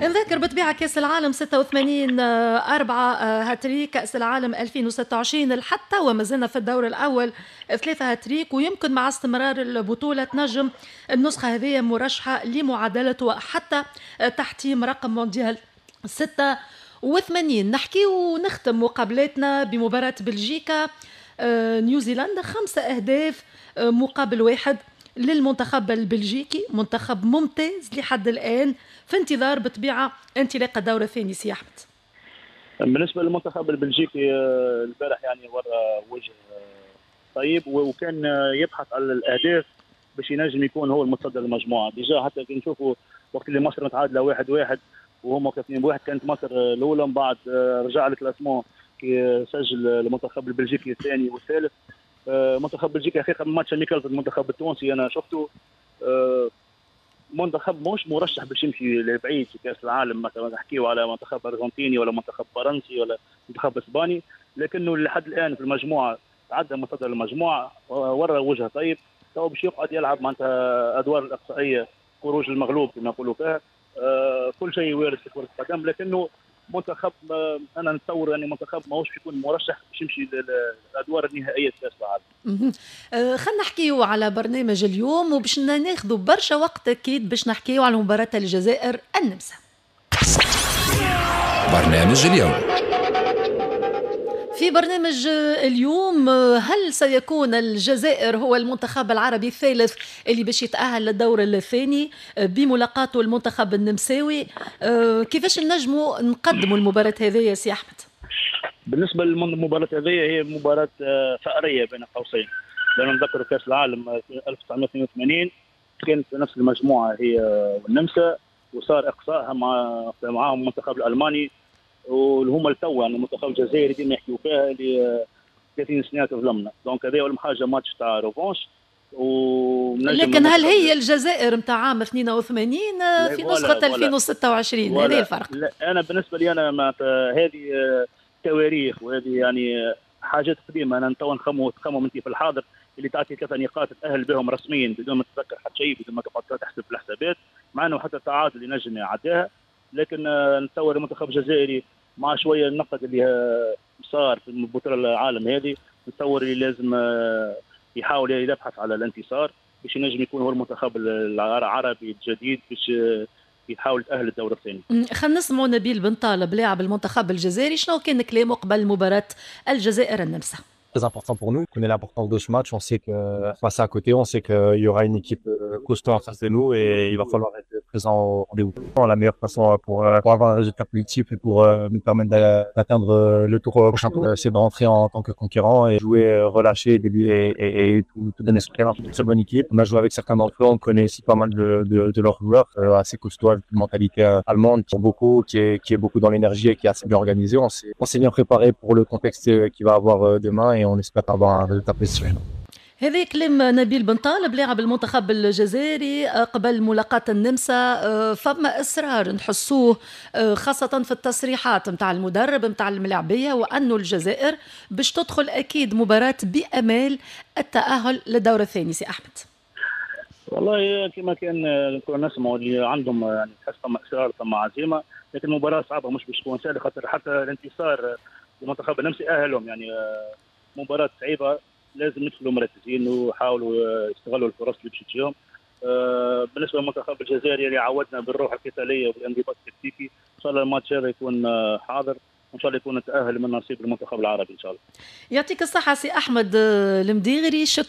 نذكر بطبيعة كاس العالم 86 4 هاتريك، كاس العالم 2026 لحتى وما زلنا في الدور الاول 3 هاتريك، ويمكن مع استمرار البطولة تنجم النسخة هذه مرشحة لمعادله وحتى تحطيم رقم مونديال 86. نحكي ونختم مقابلاتنا بمباراة بلجيكا نيوزيلندا، 5 أهداف مقابل 1 للمنتخب البلجيكي، منتخب ممتاز لحد الآن، في انتظار بطبيعة انطلاق الدور الثاني. سي أحمد. بالنسبة للمنتخب البلجيكي البارح يعني ورا وجه طيب، وكان يبحث على الأهداف باش ينجم يكون هو المتصدر للمجموعة. déjà حتى كي نشوفوا وقت اللي مصر متعادلة 1-1 وهما 2-1، كانت مصر الأولى، من بعد رجع ال classement كي سجل المنتخب البلجيكي الثاني والثالث. منتخب بلجيكا حقيقة match amical ضد المنتخب التونسي انا شفته، منتخب مش مرشح باش يمشي لبعيد في كاس العالم. مثلا نحكيو على منتخب ارجنتيني ولا منتخب فرنسي ولا منتخب اسباني، لكنه لحد الان في المجموعة تعدى متصدر المجموعه، ورى وجه طيب. تو باش يقعد يلعب معناتها ادوار الاقصائية، خروج المغلوب كما يقولوا فيها. كل شيء وارد في كره القدم، لكنه منتخب انا نتصور يعني منتخب ماهوش يكون مرشح باش يمشي للادوار النهائية في كاس العالم. خلينا نحكيو على برنامج اليوم، وباش ناخذوا برشا وقت اكيد باش نحكيو على مباراة الجزائر النمسا. برنامج اليوم. في برنامج اليوم، هل سيكون الجزائر هو المنتخب العربي الثالث اللي باش يتأهل للدور الثاني بملاقاته المنتخب النمساوي؟ كيفاش نجموا نقدموا المباراة هذه يا سي أحمد؟ بالنسبة للمباراة هذه هي مباراة ثأرية بين قوسين، لأنه نذكر كأس العالم 1982 كانت في نفس المجموعة هي والنمسا، وصار إقصائها معاهم المنتخب الألماني، واللي هما التو يعني المنتخب الجزائري ديما يحكيو فيها اللي 30 سنة تظلمنا. donc هذا اول حاجة ماتش تاع revanche. لكن هل هي الجزائر نتاع عام 82 في نسخه 2026؟ هذا الفرق. لا، انا بالنسبة لي انا هذه تواريخ وهذه يعني حاجات قديمه. انا تو نخمم انت في الحاضر اللي تعطي 3 نقاط تاهل بهم رسميا بدون ما تتذكر حتى شيء، بدون ما تقعد تحسب في الحسابات، مع انه حتى التعادل ينجم يعديها. لكن نتصور المنتخب الجزائري مع شوية النقد اللي صار في البطولة العالم هذه، نتصور اللي لازم يحاول يبحث على الانتصار باش ينجم يكون هو المنتخب العربي الجديد باش يحاول يتاهل للدور الثاني. خلينا نسمعوا نبيل بن طالب لاعب المنتخب الجزائري، شنو كان كلامه قبل مباراة الجزائر النمسا؟ Très important pour nous. On connaît l'importance de ce match. On sait que passer à côté, on sait qu'il y aura une équipe costaud en face de nous et il va falloir être présent au rendez-vous. La meilleure façon pour avoir un résultat positif et pour nous permettre d'atteindre le tour prochain tour, c'est de rentrer en tant que conquérant et jouer relâché et tout donner son terrain. Une très bonne équipe. On a joué avec certains d'entre eux. On connaît aussi pas mal de leurs joueurs, assez costauds, avec une mentalité allemande qui beaucoup, qui est beaucoup dans l'énergie et qui est assez bien organisée. On s'est bien préparé pour le contexte qu'il va avoir demain et on espère avoir un résultat positif. هذا كلام نبيل بن طالب لاعب المنتخب الجزائري قبل ملاقاة النمسا. فما إصرار نحسوه خاصة في التصريحات متاع المدرب متاع الملاعبية، وأنه الجزائر باش تدخل أكيد مباراة بأمال التأهل للدور الثاني. سي أحمد. والله كما كان كنا نسمعوا اللي عندهم يعني تحس ثم إصرار ثم عزيمة، لكن المباراة صعبة مش باش تكون سهلة، خاطر حتى الانتصار المنتخب النمسي أهلهم يعني مباراة صعيبة، لازم يدخلوا مركزين ويحاولوا يستغلوا الفرص اللي باش تجيهم. بالنسبة للمنتخب الجزائري اللي عودنا بالروح القتالية والانضباط التكتيكي، ان شاء الله الماتش هذا يكون حاضر وان شاء الله يكون تاهل من نصيب المنتخب العربي ان شاء الله. يعطيك الصحة سي احمد المديغري، شكرا.